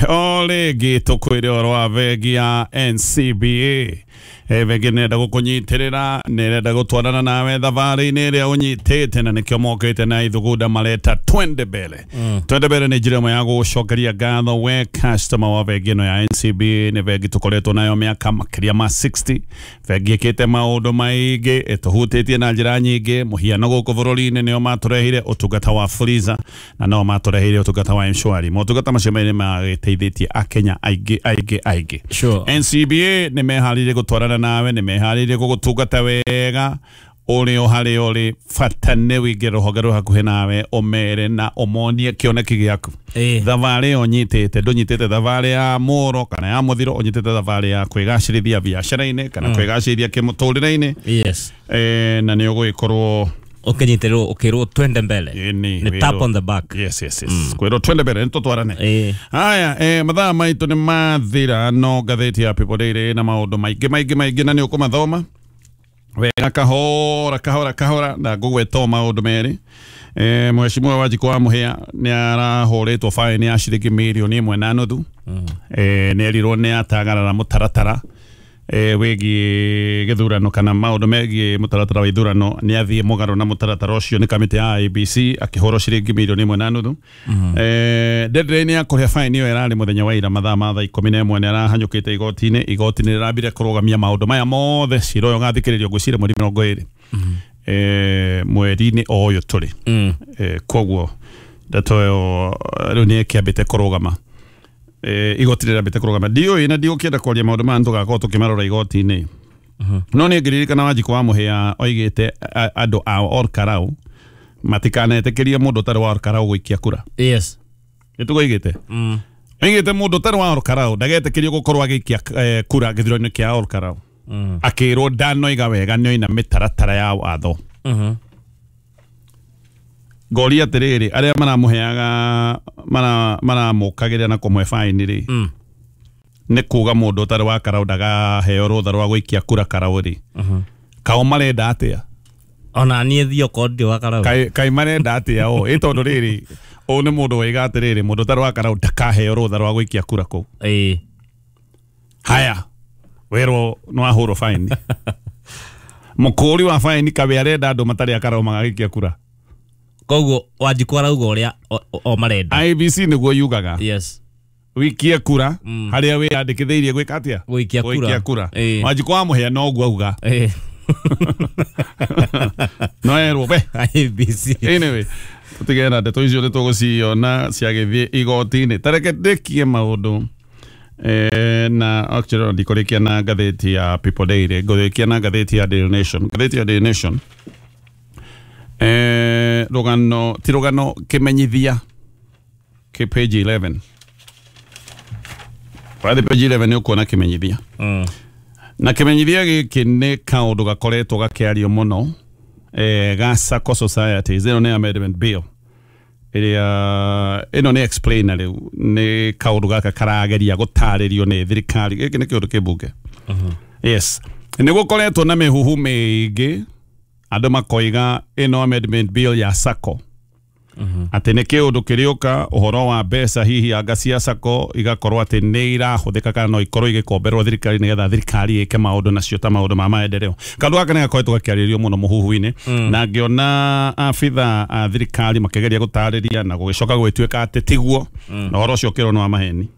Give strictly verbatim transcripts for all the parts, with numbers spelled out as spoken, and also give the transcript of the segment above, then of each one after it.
O rĩngĩ tũkwĩre ũhoro wa bengi ya N C B A. E, bengi nĩrenda gũkũnyitĩrĩra, nĩrenda gũtwarana nawe thabarĩ-inĩ ĩrĩa ũnyitĩte, na nĩkĩo mokĩte na ithugunda mareta twende mbere. Mm. Twende mbere nĩ njĩra ĩmwe ya gũcokeria ngatho we customer wa bengi ĩno ya N C B A. Nĩ bengi tũkoretwo nayo mĩaka makĩria ma sixty. Bengi ĩkĩte maũndũ maingĩ, ĩtũhutĩtie na njĩra nyingĩ. Mũhiano gũkũ bũrũri-inĩ nĩo matũrehire ũtungata wa Fuliza, na no matũreheire ũtungata wa M-Shwari. Motungata macio merĩ magĩteithĩtie Akenya aingĩ aingĩ aingĩ. Sure. N C B A nĩ meharĩirie gũtwarana nawe, nĩ meharĩirie gũgũtungata wega ũrĩ o harĩa ũrĩ. Bata nĩ wĩingĩre rũhonge rwĩ hakuhĩ nawe, ũmere na ũmonie kĩoneki gĩaku. Thabarĩ ĩyo ũnyitĩte, ndũnyitĩte thabarĩ ya mũro kana ya mũthiro, ũnyitĩte thabarĩ ya kwĩgacĩrithia biacara-inĩ kana mm. kwĩgacĩrithia kĩmũtũrĩre-inĩ. Yes. Eh, na nĩ ũgũgĩkorwo ũkĩnyitĩrĩrwo ũkĩrwo twende mbele. Nĩ tap on the back. Yes, yes, yes. Mm. Kwĩrwo twende mbere, nĩtũtwarane. Eh. Haya, eh, mathaa maitũ nĩ mathira, no ngathĩti ya People Daily na maũndũ maingĩ maingĩ maingĩ, na nĩ ũkũmathoma wega kahora kahora kahora, na ngũgweta o maũndũ merĩ. Eh, Mheshimiwa Wanjikũ wa Mũhĩa nĩ arahũrĩtwo faini ya ciringi mirioni ĩmwe na nuthu. Mm. Eh, nĩ erirwo nĩ atagarara mũtaratara eh, wĩgiĩ gĩthurano kana maũndũ megiĩ mũtaratara wa ithurano. Nĩ athiĩ mũgarũ na mũtaratara ũcio nĩ kamĩtĩ ya I B C, akĩhũrwo ciringi mirioni ĩmwe na nuthu. Mm. Eh, deadline ya kũrĩha faini ĩyo ĩrarĩ mũthenya wa ira mathaa ma thaa ikũmi na ĩmwe. Nĩ arahanyũkĩte igoti-inĩ. Igoti nĩ rĩrambire kũrũgamia maũndũ maya mothe. Cira ũyũ ũgathikĩrĩrio ngwĩciria mweri mĩrongo ĩrĩ. Mm. Eh, mweri-inĩ o ũyũ tũrĩ. Mm. Eh, koguo ndeto ĩyo rĩu nĩ ĩkĩambĩte kũrũgama. Eh, igoti rĩrambĩte kũrũgama. Ndiũĩ na ndigũkĩenda kwaria maũndũ maya, nĩtũgakorwo tũkĩmarora igoti-inĩ. No nĩ ngĩririkana Wanjikũ wa Mũhĩa oigĩte andũ a Olkarau matikanetĩkĩrie mũndũ ũtarĩ wa Olkarau gũikia kura. Yes. Nĩtũgoigĩte? Mm. Oigĩte mũndũ ũtarĩ wa Olkarau ndagetĩkĩrio gũkorwo agĩikia eh, kura gĩthurano-inĩ kĩa Olkarau. Mm. Akĩrwo ndanoiga wega nĩoina mĩtaratara ya watho. Mm-hmm. Ngoria atĩrĩrĩ, arĩa maramũheaga mara maramũkagĩrĩra na kũmũhe faini rĩ, mm. nĩ kuga mũndũ ũtarĩ wa Karau ndagaheo rũtha rwa gũikia kura Karau rĩ, mm-hmm. kao marenda atĩa? Ona niĩ thiĩ okorwo ndirĩ wa Karau. Kaĩ kaĩ marenda atĩa o? Ĩ tondũ rĩrĩ, ũyũ nĩ mũndũ waiga atĩrĩrĩ, mũndũ ũtarĩ wa Karau ndakaheo rũtha rwa gũikia kura kũu. Ĩĩ. Haya, werwo nĩ wahũrwo faini. Mũkũri wa faini kawe arenda andũ matarĩ a Karau magagĩikia kura. Koguo Wanjikũ arauga ũrĩa o marenda. I B C nĩguo yugaga. Yes. Wikie kura mm. harĩa wĩyandĩkithĩirie gwĩka atĩa? Gũikia kura. Gũikia kura. Wanjikũ wa Mũhĩa noguo auga. Ĩĩ. No erwo be. I B C. Anyway, tũtigane na ndeto icio nĩtũgũciona ciagĩthiĩ igoti-inĩ. Ta reke ndĩkie maũndũ. Eh, na actually ndikũrĩkia na ngathĩti ya People Daily, ngũrĩkia na ngathĩti ya Daily Nation. Ngathĩti ya Daily Nation. Eh, rũgano ti rũgano, kĩmenyithia kĩ page eleven. Wathiĩ page eleven nĩ ũkuona kĩmenyithia. Mm. Na kĩmenyithia gĩkĩ nĩ kaũndũ gakoretwo gakĩario mũno, eh, ga Sacco Societies. Ĩno nĩ amendment bill ĩrĩa ĩno nĩ explainer rĩu, nĩ kaũndũ gaka karageria gũtarĩrio nĩ thirikari. Gĩkĩ nĩ kĩũndũ kĩmbunge. Mm-hmm. Yes. Nĩ gũkoretwo na mĩhuhu mĩingĩ, andũ makoiga ĩno amendment bill ya Sacco. Mm-hmm. Atĩ nĩ kĩũndũ kĩrĩũka ũhoro wa mbeca hihi anga cia Sacco igakorwo atĩ nĩ irahũthĩka kana no ikorwo igĩkomberwo thirikari nĩgetha thirikari ĩke maũndũ nacio ta maũndũ ma maendeleo. Kaũndũ gaka nĩ gakoretwo gakĩarĩrĩrio mũno mũhuhu-inĩ. Mm. Na ngĩona abitha a thirikari makĩgeria gũtarĩria na gũgĩcoka gũgĩtuĩka atĩ tiguo. Mm. Na ũhoro ũcio ũkĩrwo nĩ wa maheni.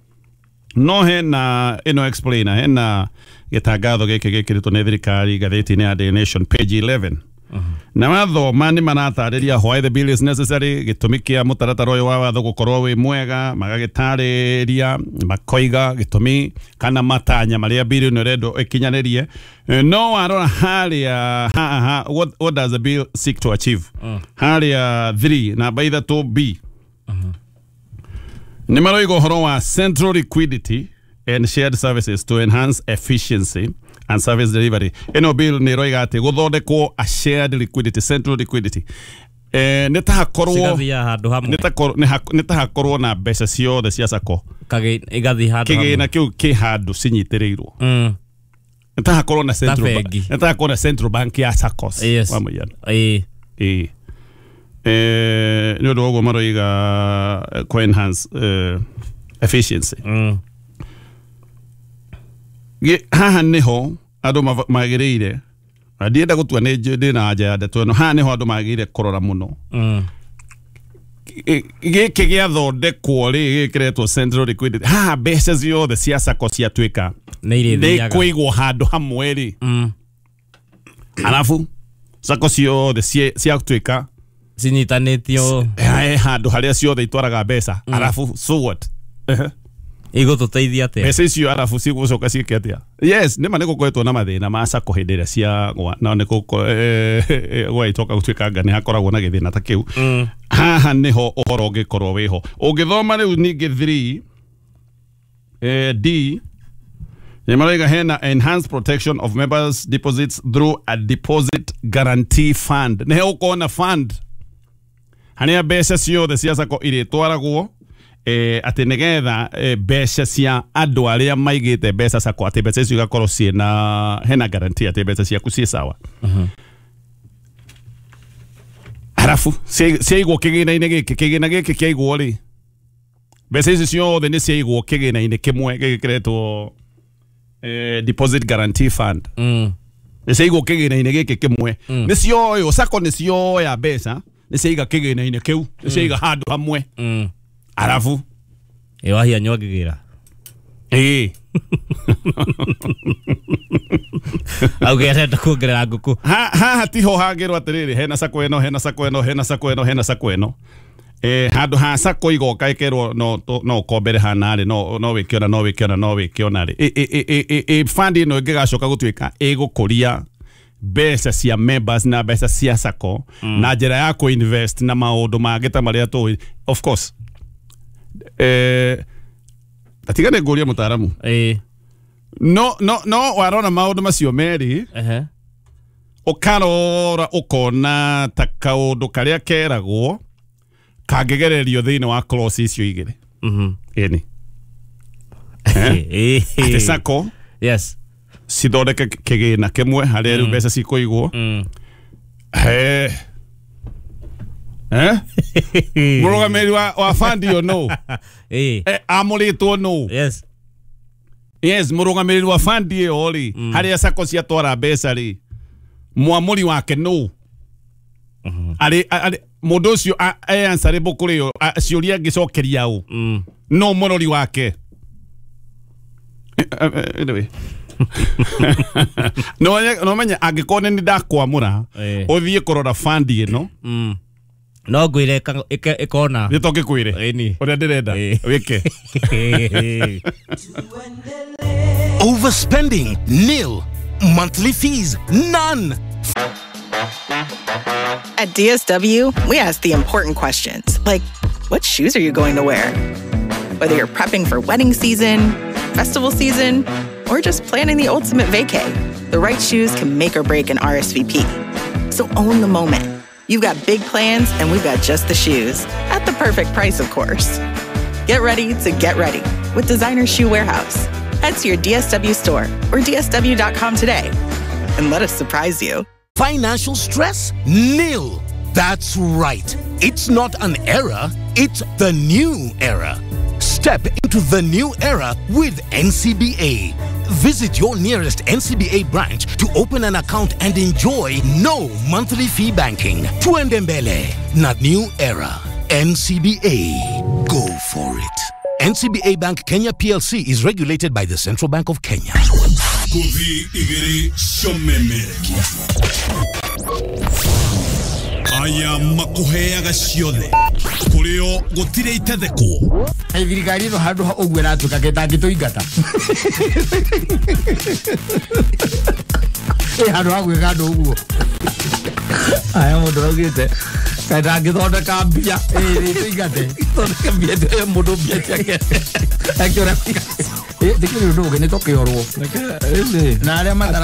No hena ĩno explainer, hena gĩtangatho gĩkĩ gĩkĩrĩtwo nĩ thirikari ngathĩti-inĩ ya Daily Nation page eleven. Mm-hmm. Na mathoma nĩ maratarĩria why the bill is necessary, gĩtũmi kĩa mũtaratara ũyũ wa watho gũkorwo wĩ mwega, magagĩtarĩria makoiga gĩtũmi kana matanya marĩa bill ĩno ĩrendwo ĩkinyanĩrie. No warora harĩa ha, ha, what, what does the bill seek to achieve? Mm. Harĩa three namba ithatũ B. Mm-hmm. Nĩ maroiga ũhoro wa central liquidity and shared services to enhance efficiency and service delivery. Ĩno bill nĩ ĩroiga atĩ gũthondekwo a shared liquidity, central liquidity. Eh, nĩ ta hakorwo Cigathiĩ handũ hamwe. nĩ ta korwo, nĩ ta hakorwo na mbeca ciothe cia Sacco. Kagĩ igathiĩ handũ hamwe. Kĩgĩna kĩu kĩ handũ cinyitĩrĩirwo. Mm. Nĩ ta hakorwo na central bank. bengi. Nĩ ta hakorwo na central bank ya Saccos. Yes. Wa mũhiano. Ĩĩ. Ĩĩ. Eh, nĩ ũndũ wa ũguo maroiga kũ enhance eh, Efficiency. Mm. Haha niho andu magiriire na ndienda gutua ni ndina anja ya ndeto ino haha niho andu magiriire kurora muno. Mm. Giki gĩathondekwo rĩ gĩkĩretwo central liquidity haha mbeca ciothe cia sacco ciatuĩka nĩ kũigwo handũ hamwe rĩ. Mm. Alafu sacco ciothe ciatuĩka cinyitanĩtio handũ harĩa ciothe itwaraga mbeca. Alafu so what? Igũtũteithia atĩa mbeca icio? Arabu cigũcoka ciĩke atĩa? Yes, nĩma nĩgũkoretwo na mathĩna ma sacco hĩndĩ ĩrĩa ciagwa na nĩgwagĩcoka gũtuĩka anga nĩ hakoragwo na gĩthĩna ta kĩu. Haha nĩho ũhoro ũngĩkorwo wĩho ũngĩthoma rĩu ningĩ three D nĩmarauga hena enhanced protection of members deposits through a deposit guarantee fund. Nĩho ũkona fund harĩa mbeca ciothe cia sacco irĩtwaragwo eh ati nigetha mbeca cia andu aria maigite mbeca sacco ati mbeca icio igakorwo ciina hena guarantee ati mbeca ciaku ciĩ sawa. Arafu ciaigwo kĩgĩna-inĩ gĩkĩ kĩgĩna gĩkĩ kĩaigwo rĩ mbeca icio ciothe nĩ ciaigwo kĩgĩna-inĩ kĩmwe gĩkĩ kĩretwo eh deposit guarantee fund. Mm. Nĩ ciaigwo kĩgĩna-inĩ gĩkĩ kĩmwe nĩ cioywo sacco nĩ cioya mbeca nĩ ciaiga kĩgĩna-inĩ kĩu nĩ ciaiga handũ hamwe. Mm. Arafu ĩwahia nyongĩgĩra ĩĩ auge arenda kuongerera ngũkũ haha tiho hangĩrwo atĩrĩrĩ hena sacco ĩno hena sacco ĩno hena sacco ĩno hena sacco ĩno eh handũ ha sacco igoka ĩkerwo no no ũkombere hana rĩ no no wĩke ona no wĩke ona no wĩke ona rĩ ĩ fund ĩno ĩngĩgacoka gũtuĩka ĩgũkũria mbeca cia members na mbeca cia sacco na njĩra ya kũ-invest na maũndũ mangĩ ta marĩa tũĩ of course. Eh atiga nĩ ngũria mũtaaramu. Eh no no no warona maũndũ macio merĩ ehe ũkarora ũkona ta kaũndũ karĩa keragwo kangĩgererio thĩinĩ wa clause icio igĩrĩ. Mhm. Ĩni eh atĩ sacco yes cithondeke kĩgĩna kĩmwe harĩa rĩu mbeca cikũigwo. Mm. Eh eh mũrũgamĩrĩri wa wa fund ĩyo no eh amũrĩtwo no yes yes mũrũgamĩrĩri wa fund ĩyo rĩ harĩa sacco ciatwara mbeca rĩ mwamũri wake no arĩ arĩ mũndũ ũcio e answerable kũrĩ o ciũria angĩcokeria ũ no mũrori wake. Anyway no no menya angĩkorwo nĩ ndakwamũra ũthiĩ kũrora fund ĩno no ngwire ikona nĩ tongĩkwĩre ũrĩa ndĩrenda wĩke. Overspending nil, monthly fees none. At D S W, we ask the important questions, like what shoes are you going to wear? Whether you're prepping for wedding season, festival season, or just planning the ultimate vacay, the right shoes can make or break an R S V P. So own the moment. You've got big plans, and we've got just the shoes. At the perfect price, of course. Get ready to get ready with Designer Shoe Warehouse. Head to your D S W store or D S W dot com today and let us surprise you. Financial stress? Nil. That's right. It's not an era, it's the new era. Step into the new era with N C B A. Visit your nearest N C B A branch to open an account and enjoy no monthly fee banking. Tuende mbele na new era. N C B A. Go for it. N C B A Bank Kenya P L C is regulated by the Central Bank of Kenya. Aya makuheaga ciothe kurio gutire itethekwo thirikari ĩno handũ ha ũguo ĩratuĩka gĩtangĩtũingata ĩ handũ ha gwĩka andũ ũguo aya mũndũ augĩte kaĩ ndangĩthondeka mbia ĩtũingate thondeke mbia mũndũ mbia ciake akĩũra ndĩkĩrĩ ũndũ ũngĩ nĩ tũkĩorwo na arĩa matara